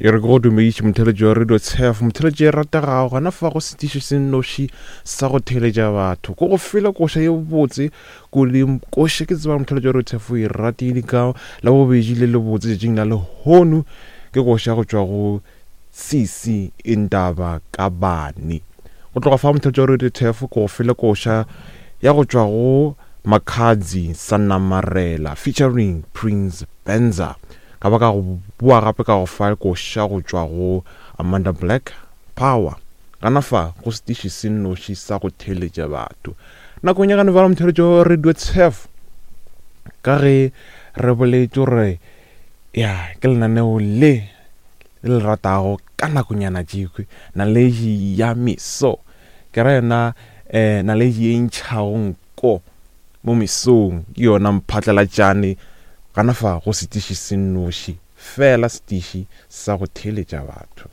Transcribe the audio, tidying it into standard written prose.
E re ke go dumediše motheeletši wa Radio Tshef, motheeletši e rategago gona fa go setiši se nnoši sa go theeletša batho. Ko go fela koša ye botse, ko le koša ke tseba motheeletši wa Radio Tshef o e ratile ka la bobedi le le botse tšatšing la lehono ke koša go tšwa go Sisi Indaba Kabane. Go tloga fa motheeletši wa Radio Tshef ko go fela koša ya go tšwa go Makhadzi Sanamarela featuring Prince Benza. Ka ba ka go boa gape ka go fa koša go tšwa go Amanda Black, Power. Gana fa go setiši se nnoši sa go theeletša batho. Nakong ya gane bjalo motheeletšo Radio Tshef, ka ge re boletše gore ya ke lenaneo le le le ratago ka nakonyana tšekhwi naledi ya meso ke ra yona um naledi e ntšhago nko Mo mesong ke yona mphatlalatšane gana fa go setiši se nnoši, feela setiši sa go theeletša batho.